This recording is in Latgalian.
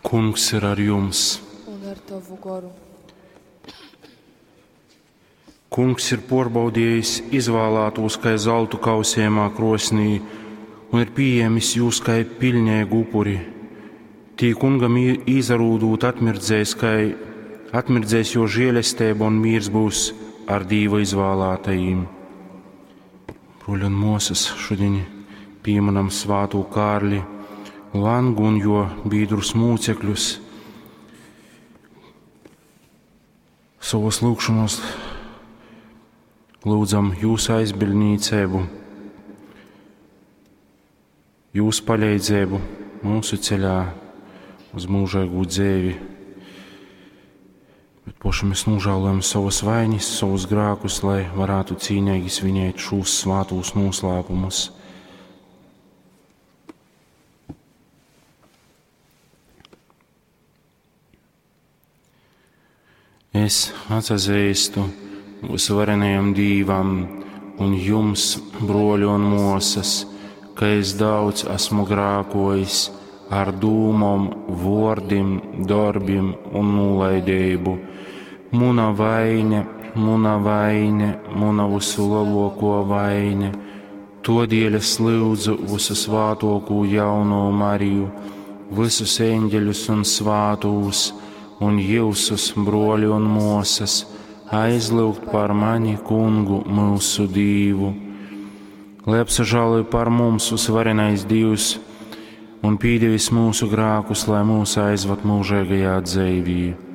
Kungs ir ar jums! Un ar tovu goru. Kungs ir puorbaudījis izvēlētos kai zeltu kausējumā krosnī un ir pieejams jūs kai piļneigu upuri. Tī kungam īsarūdūt atmirdzēs, kai atmirdzēs jo žēlestība un mīrs būs ar Dīva izvēlētajiem. Bruļi un mosas, šodien pieminam svātū Kārli Langu un jo bīdrus mūcekļus. Savos lūgšanos lūdzam jūsu aizbildnīcību, jūsu palīdzību mūsu ceļā uz mūžīgu dzīvi. Bet poši mēs nožēlojam savas vainas, savus grēkus, lai varētu cīnīgi svinēt šos svātos noslēpumus. Es atzīstu visvarenajam Dīvam un jums, broļi un mosas, ka es daudz esmu grākojis ar dūmom, vordim, darbim un nolaidību. Muna vaine, muna vaine, muna visu lielāko vaine. Todēļ es lūdzu visu svātokū jauno Mariju, visus eņģeļus un svātūs, un jūsus, broļi un mosas, aizlūgt par mani, kungu, mūsu Dīvu. Lai apsažāloja par mums uzvarenais Dievs un pīdevis mūsu grākus, lai mūs aizvad mūžīgajā dzīvī.